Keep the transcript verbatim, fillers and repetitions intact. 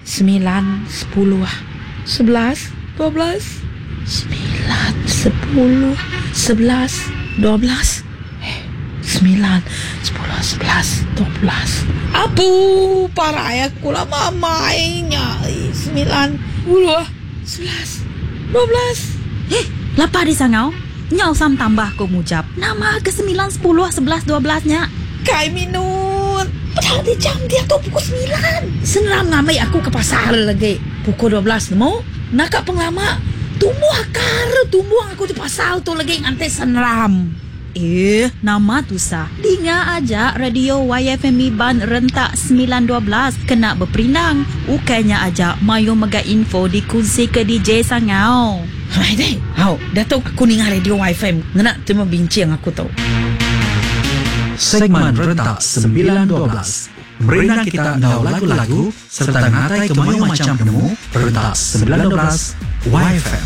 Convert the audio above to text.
Sembilan, sepuluh, sebelas, dua belas. Sembilan, sepuluh, sebelas, dua belas. Eh, sembilan, sepuluh, sebelas, dua belas. Apu, parai aku lama amainya. Sembilan, sepuluh, sebelas, dua belas. Eh, lapa di sangau? Nyau sam tambah ko mujap. Nama ke sembilan, sepuluh, sebelas, dua belas nya? Kai minut. Padahal di jam dia tu pukul sembilan. Seneram ngamai aku ke pasar lagi. Pukul dua belas nemu. Nakak penglama. Tumbuh akar, tumbuh aku di pasar tu lagi ngantai seneram. Eh, nama tu sah. Dinga aja radio Y F M Iban rentak sembilan dua belas kena berperindang. Ukainya aja mayu mega info dikunsi ke D J Sangau. Hai deh. Hau, datuk aku ninga radio Y F M. Ngena terima bincang aku tu. Segmen rentak sembilan dua belas. Merindang kita ngau lagu-lagu serta ngatai ke mayu macam nemu rentak sembilan dua belas Y F M.